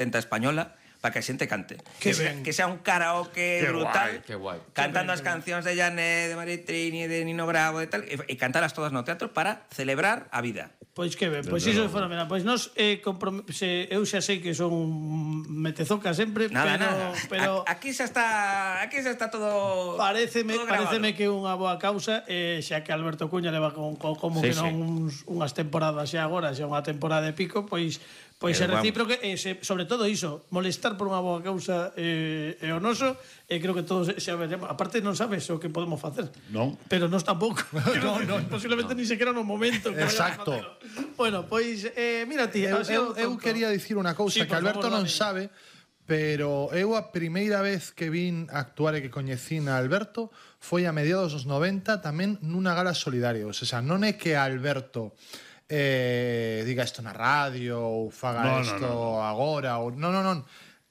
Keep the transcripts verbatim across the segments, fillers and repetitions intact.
tenta española, para que a xente cante. Que Que, sea, ben. que sea un karaoke Qué brutal. guai, qué guai. Cantando Que ben, as que cancións de Janet, de Maritrini, de Nino Bravo e tal, e, e cantalas todas no teatro para celebrar a vida. Pois que ben, pois iso é fenomenal. Pois nós eh, comprom- se, eu xa sei que son metezoca sempre, Nada, pero nada. pero A- aquí xa está, aquí xa está todo paréceme todo grabado. paréceme que é unha boa causa, eh, xa que Alberto Cuña leva con, con como Sí, que non sí. uns, unhas temporadas xa agora, xa unha temporada de pico, pois pois é Pero vamos. recíproco e se, sobre todo iso, molestar por unha boa causa eh, é o noso, e creo que todos xa veremos. Aparte non sabes o que podemos facer. Non. Pero nós tampouco. no, no, posiblemente ni sequera no momento que Exacto. vayamos a facelo. Bueno, pois eh, mira ti, Eu, así eu, o eu tonto. quería dicir unha cousa Sí, que por Alberto favor, non dame. sabe, pero eu a primeira vez que vin actuar e que coñecín a Alberto foi a mediados dos noventa tamén nunha gala solidaria. O sea, non é que Alberto eh, diga isto na radio ou faga No, no, isto no, no. agora ou non, non, non.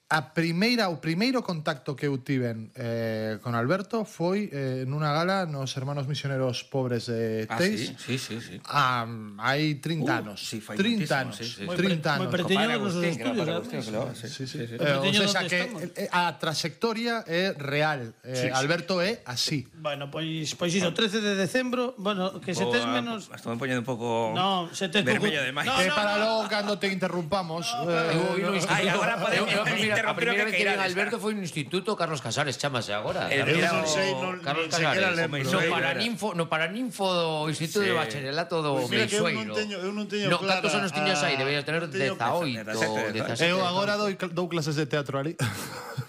A primeira, o primeiro contacto que eu tiven eh, con Alberto foi eh, nunha gala nos Hermanos Misioneros Pobres de Ah, Teis. sí, sí, sí, sí. Ah, hai trinta Uh, anos. sí, fai trinta moitísimo, anos. sí, sí. Moi trinta pre- moi anos. pre- Teño Compadre nos Agustín, que era estudios, para además. Agustín, que lo- sí, Sí, sí. sí, sí. Eh, o Teño sea, onde que estamos. eh, a trayectoria é real. Eh, Sí, sí. Alberto é así. Bueno, pois pois iso, trece de decembro, bueno, que se tes menos Estou me poñendo un pouco No, se tes vermello pouco- de máis. No, Que no, para no. logo cando te interrumpamos. eh, Eu vi no no- instituto. Ai, agora podemos Eu- eu- a primeira- interrumpir A o primeira que vez que vi a queirades. Alberto foi no Instituto Carlos Casares, chamase agora. El Carlos- Eu Mira, non o- sei, non, Carlos nin sequera Casares. lembro. No Era- paraninfo, no paraninfo do Instituto Sí. de Bacharelato do Pois mira que eu non Meixueiro. teño- eu non teño No, clara cantos anos tiñas aí? a- Deberías tener non teño- dezaoito, dezasete, dezasete. Eu agora dou, dou clases de teatro ali.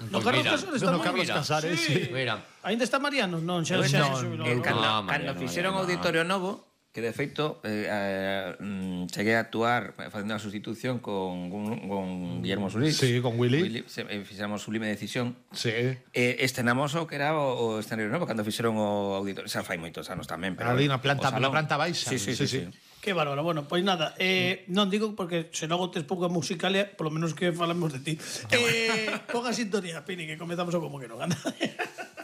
No Pois Carlos mira, Casares está no moi Carlos mira. Casares, Sí. sí. Mira. Ainda está Mariano? Non, xa Eu xa non, se xubilou. el non? cando, No, cando Mariano, fixeron Mariano, o Auditorio Novo, que de feito eh, eh, mm, cheguei a actuar facendo a sustitución con, con, con Guillermo Solís. Sí, con Willy. se, eh, fixéramos Sublime Decisión. Sí. Eh, estrenamos o que era o, o escenario novo cando fixeron o auditorio. Xa fai moitos anos tamén, pero Ali na planta- o salón. na planta baixa. Sí, sí, Sí, sí. sí. sí. Que bárbaro. Bueno, pois nada, eh, non digo porque se logo tes pouca musicalia, polo menos que falamos de ti. Eh, pon a sintonía, Pini, que comezamos o como que non gana.